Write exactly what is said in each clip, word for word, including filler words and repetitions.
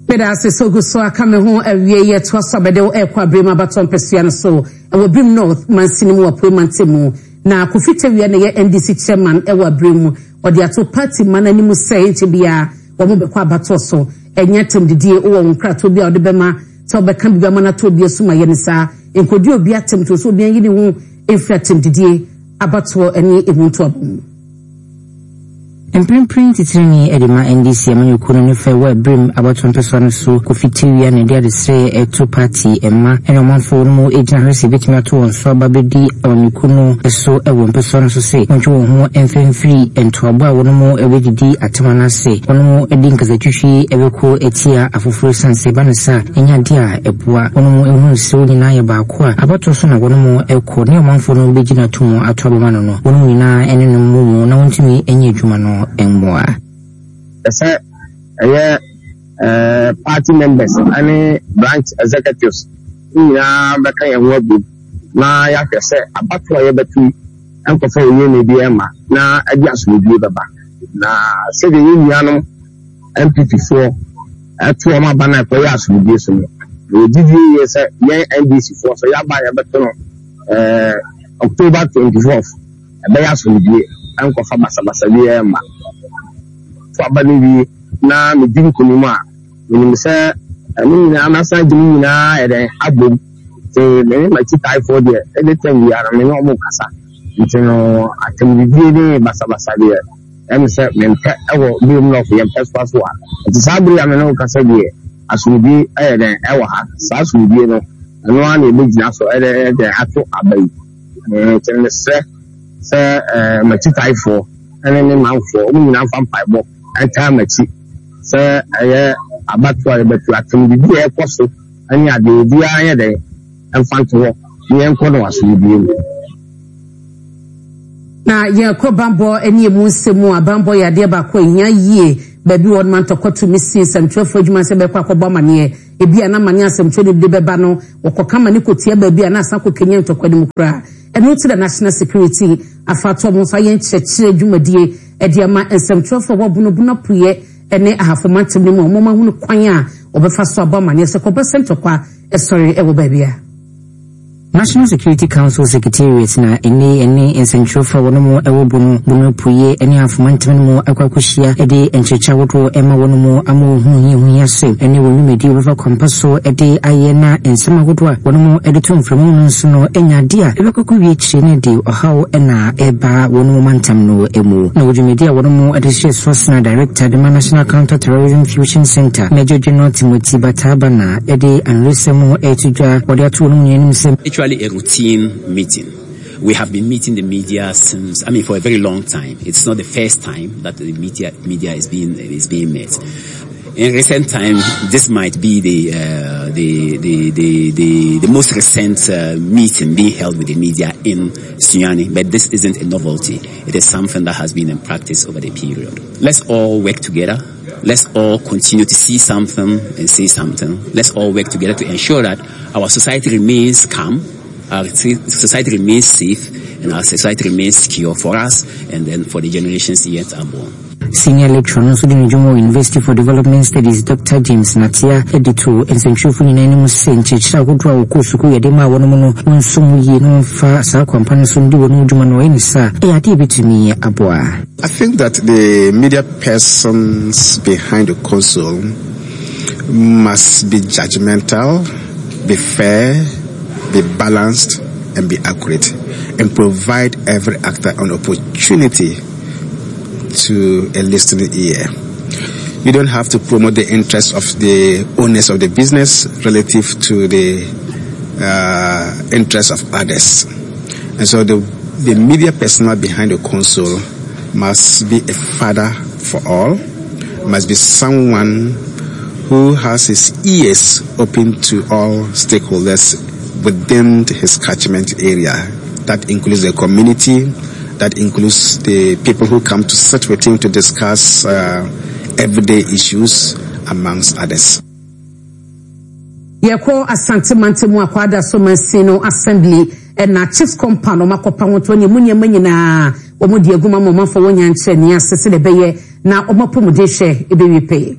Meda ase sɛ ogu so aka me ho. Awie yɛ toa so abɛde wo ɛrekɔ Abirim abatɔ mpɛsua no so ɛwɔ Birim North mansini mu, Apuei mantam mu. Na Kofi Tawia na ɛyɛ N D C chairman ɛwɔ Abirim mu. Ɔde ato party ma n'anim sɛ nkyɛ biara wɔn bɛkɔ abatɔ so, ɛnyɛ atɛmdidie. Wowɔ wɔn nkratoɔ bi a wɔde bɛma sɛ wɔbɛka biribi ama no ato obi asom ayɛ no saa, nkɔdi obi atɛm to so, obi anyi ne ho mfiri atɛmdidie, abatoɔ ne emu ntoabɔ mu. Mprempren titirani de ma N D C amanyɔkuo no ne fɛ wɔ Abirim abatoɔ mpɛsoa no so, Kofi Tewia, na ɛde adesrɛ ɛto party mma ɛne ɔmanfoɔ no mu gyina hɔ sɛ ebɛtumi ato wɔn so aba bɛdi amanyɔkuo no so wɔ mpɛsoa no so sɛ wɔntwe wɔn ho mfɛmfiri ntoabɔ a wɔn mu bɛdidi atam anaasɛ wɔn mu de nkasatwitwi bɛkɔ atia afoforɔ, esiane sɛ ɛba no sa ɛnyɛ adeɛ a ɛboa wɔn mu. Ehunu sɛ wɔn nyinaa yɛ baako a abatoɔ so na wɔn mu kɔ ne ɔmanfoɔ no bɛgyina to mu ato abɛma no no wɔn mu nyinaa ɛne no mu mu na wɔntumi nyɛ adwuma no mmoa. Sɛ ɛyɛ ɛɛ party members ɛne branch executives nyinaa bɛka yɛn ho abom na yɛahwɛ sɛ abatoɔ a yɛbɛto yi nkɔfa oyie na ebi ɛma na ɛde asomdwie bɛba, na sɛdeɛ yɛn nuanom N P P foɔ ɛto wɔn aba na ɛkɔyɛ asomdwie so no, yɛgye die yie sɛ yɛn N D C foɔ so yɛaba a yɛbɛto no ɛɛ October twenty fourth ɛbɛyɛ asomdwie, ɛnkɔfa basabasa bi ɛmma. To aba no wie na medi nkonim a, menim sɛ ɛno nyinaa mɛsan gye me nyinaa yɛ dɛn abom, nti mene m'akyitaefoɔ deɛ, ɛde tɛm biara me ne ɔmo kasa, nti no atɛmdidie ne basabasa deɛ, ɛne sɛ mempɛ ɛwɔ Birim North yɛn mpɛsoa so a. Nti saa bere a me ne wo kasa deɛ, asomdwie ɛyɛ dɛn ɛwɔ ha. Saa asomdwie no, ɛno ara na yɛbɛgyina so ɛdɛ ɛdɛn ato aba yi. Nti mesrɛ sɛ ɛɛ m'akyitaefoɔ ɛne ne manfoɔ, ɔmo nyinaa mfa mpaebɔ ɛntaa m'akyi sɛ ɛyɛ abatoɔ a yɛbɛto, atɛmdidi a ɛkɔ so ɛne adeɛ, obiara yɛ dɛn ɛmfa nto hɔ ne yɛnkɔ no asomdwie mu. Na yɛkɔ bambɔ ne emu nsɛm mu a, bambɔ yɛ adeɛ baako a ɛhia yie. Baabi wɔ no ntɔkwa tumi si nsɛmtwerɛfoɔ adwuma sɛ bɛkɔ akɔbɔ amanneɛ. Ebi a na amanneɛ asɛmtwerɛ no de bɛba no, wɔkɔka ma ne kɔtia baabi a na asa kɔkenya ntɔkwa no mu koraa. Ɛno ti na National Security afa ato ɔmo nso ayɛ nkyerɛkyerɛ dwumadie ɛde ama nsɛmtwerɛfoɔ a wɔabonobono Apueɛ ne Ahafo mantam no mu a wɔn ahunu kwan a wɔbɛfa so abɔ amanneɛ sɛ kɔba sɛ ntɔkwa ɛsɔre ɛwɔ baabi a. National Security Council Secretariat na ɛne ɛne nsɛntwerɛfoɔ a wɔn mu ɛwɔ Bono, Bono Apueɛ ne Ahafo mantam no mu akɔ akɔhyia de nkyerɛkyerɛ ahodoɔ ɛma wɔn mu ama wɔn ho hia ho hia sɛ ɛne wɔn dwumadi wɔbɛfa kwampa so de ayɛ, na nsɛm ahodoɔ a wɔn mu de to mframa mu no nso no anya adeɛ a ɛbɛkɔkɔ wie akyire ne de ɔhaw ɛna ɛba wɔn mu mantam no mu. Na wɔ dwumadi a wɔn mu de hyɛ soasena director de ma National Counter Terrorism Fusion Center, Major General Timothy Bataaba, na ɛde anoresɛm ɛto dwa wɔde ato wɔn mu nyinaa anim sɛ Actually a routine meeting. We have been meeting the media since, I mean, for a very long time. It's not the first time that the media, media is being, is being met. In recent time, this might be the, uh, the, the, the, the, the most recent uh, meeting being held with the media in Sunyani, but this isn't a novelty. It is something that has been in practice over the period. Let's all work together. Let's all continue to see something and say something. Let's all work together to ensure that our society remains calm, our society remains safe, and our society remains secure for us and then for the generations yet unborn. Senior lecturer no nso de ne dwuma wɔ University for Development Studies, Doctor James Natia, de to nsɛntwerɛfo nyinaa anim sɛ nkyerɛkyerɛ ahodoɔ a wɔkɔɔ sukuu yɛde maa wɔn no, wɔnso mu yie na wɔmfa saa kwampa no so de wɔn dwuma no ɔyɛ ne saa ɛyɛ adeɛ bɛtumi aboa. I think that the media persons behind the console must be judgmental, be fair, be balanced, and be accurate, and provide every actor an opportunity to a listening ear. You don't have to promote the interests of the owners of the business relative to the uh, interests of others. And so the, the media personnel behind the console must be a father for all, must be someone who has his ears open to all stakeholders within his catchment area. That includes the community, that includes the people who come to sit with him to discuss uh, everyday issues, amongst others. Yɛkɔ Asante mantam mu akɔada so mansin no assembly ɛna chiefs compound ɔmo akɔpa ho to ne mu nneɛma nyinaa wɔn de agu ma ma ɔmanfo wɔn nya nkyerɛ nea ase sɛ ɛbɛyɛ na wɔn apɔmuden hwɛ ɛbɛwie pɛyɛ.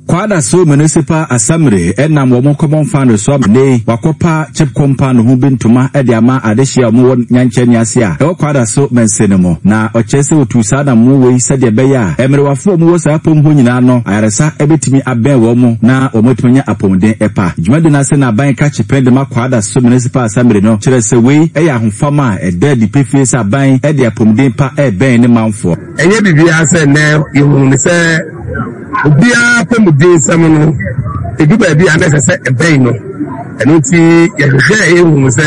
Kwadaso Municipal Assembly ɛnam wɔn common fund so ne wakɔpa CHPS compound ho bi ntoma ɛde ama adehyia a wɔwɔ nyankyɛn ase a ɛwɔ Kwadaso mɛnse no mu. Na ɔkyerɛ sɛ otu saa na mu wei sɛdeɛ ɛbɛyɛ a mmerɛwafoɔ a wɔwɔ saa apom hɔ nyinaa no ayaresa ɛbɛtumi abɛn wɔn mo na wɔn atumi anya apɔmuden ɛpa. Dwumadi no ase na aban krakye pɛn de ma Kwadaso Municipal Assembly no kyerɛ sɛ wei ɛyɛ ahofama a ɛda adi pefee sɛ aban ɛde apɔmuden pa ɛbɛn ne manfoɔ. Ɛnyɛ biribiara sɛ nnɛ yɛhunu ne sɛ obiara apɔmuden nsɛm no edu baabi a na ɛsɛ sɛ ɛbɛn no. Ɛno nti yɛhwehwɛ yɛhunu sɛ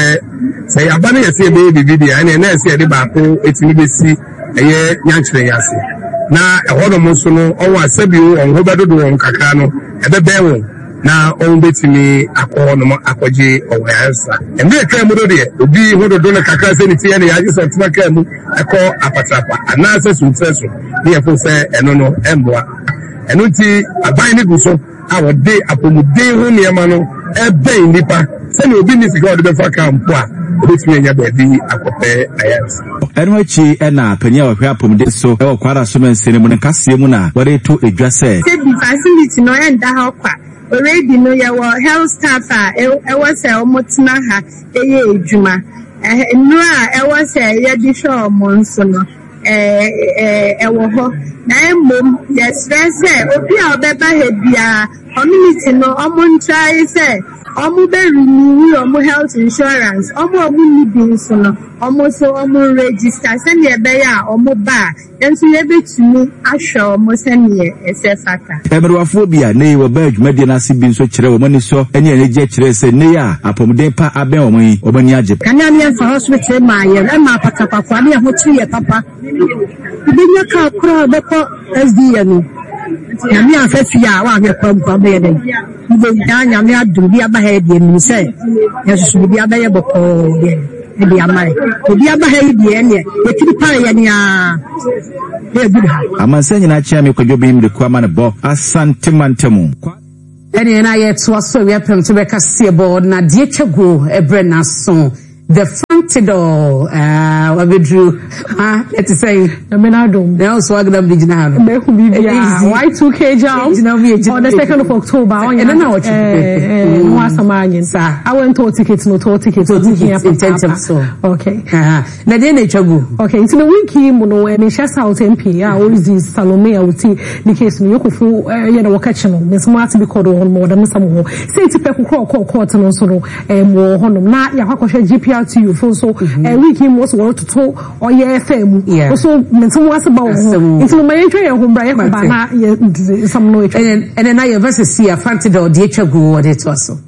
sɛ yɛaba no yɛsɛ yɛbɛyɛ biribi deɛ, ɛneɛ na ɛsɛ yɛde baako ɛtumi bɛsi ɛyɛ nyankyerɛ yi ase, na ɛhɔnom nso no ɔwɔ asɛbio wɔn ho bɛdodo wɔn kakra no ɛbɛbɛn wɔn na wɔn bɛtumi akɔ hɔnom akɔgye ɔwɔ ayaresa. Mmerɛ kaa mu no deɛ, obi ho dodo no kakra sɛ ne ti yɛ ne yɛagye sɛ ɔtena kaa mu ɛkɔ Apatrapa anaasɛ Suntrɛ so ne yɛfo sɛ ɛno no ɛmmoa. Ɛno nti aban no gu so a wɔde apɔmuden ho nneɛma no ɛbɛn nnipa sɛnea obi nni sika a ɔde bɛfa kaa mpo a, obɛtumi anya baabi akɔpɛ ayaresa. Ɛno akyi ɛna panyin a ɔhwɛ apɔmuden so ɛwɔ Kwadaso mɛnse no mu no nkaseɛ mu na wɔde to edwa sɛ sɛ facility no ɛnda hɔ kwa. Already no, yɛwɔ health staff a ɛwɔ sɛ ɔmo tena ha ɛyɛ adwuma. Nnuro a ɛwɔ sɛ yɛde hwɛ ɔmo nso no ɛwɔ hɔ, na mmom yɛsrɛ sɛ obi a ɔbɛba ha biara, community no ɔmo ntrae sɛ ɔmo bɛ renew ɔmo health insurance. Ɔmo a ɔmo nni bi nso no, ɔmo nso ɔmo register sɛnea ɛbɛyɛ a ɔmo ba a nso yɛbɛtumi ahwɛ ɔmo sɛnea ɛsɛ fata. Mmerɛwafoɔ bi a ne wɔbaa dwumadie no ase bi nso kyerɛ wɔn ani sɔ ne anigye kyerɛ sɛ ne a apɔmuden pa abɛn wɔn yi, wɔn ani agye. Kanea ne yɛmfa hospital maa yɛn ɛma apatapafoɔ ne yɛn ho kyere yɛ papa. Wobɛnya kaa koraa bɛkɔ S D A no, Nyame amfa fie a woahwɛ kwa mpo abɛyɛ dɛn wobɛnya. Nyame adom bi aba ha yi deɛ, menim sɛ yɛsoso biribi abɛyɛ bɔkɔɔ deɛ ɛde ama yɛ. Obi aba ha yi deɛ, ɛneɛ yɛtiri pae yɛ nea na yɛgu ha. Amansan nyinaa kyea me Kwadwo bi mmiriko ama ne bɔ Asante mantamu. Ɛneɛ na yɛtoa so awia pɛm to bɛka seɛbɔ na deɛ twa guo ɛberɛ n'aso the Fantidol wabɛduru ha ɛte sɛn? Nyame n'adom. Na wo so agnam de gyina ha no. Mehu biribiara. Y two K Jam on the second of October. Ɛno na wɔtwe. Eh, ho asɛm anyen. Saa. Awɛntɔ ticket no, tɔ ticket. Tɔ ticket ntɛntɛm so. Okay. Na deɛ na ɛtwa gu? Okay, nti no week yi mu no, Manhyia South M P a ɔredi Salome a wɔti ne case no yɛkɔfo yɛ na wɔka kyi no nsɛm ate bi kɔdo wɔ hɔ nom, wɔdɛm nsɛm wɔ hɔ sɛ ti pɛ kokoro ɔkɔɔ court no nso no ɛm wɔ hɔnom na yɛakɔ akɔhwɛ G P R T U fo nso week yi mu wɔso wɔretoto ɔyɛ fɛ mu nso nsɛm ase ba wɔ ho. Nti no ma yɛntwa yɛn ho mbra, yɛkɔba na yɛ nsɛm no atwa. Ɛnɛ na yɛbɛ sisi a Fantidol deɛ atwa gu wɔde toa so.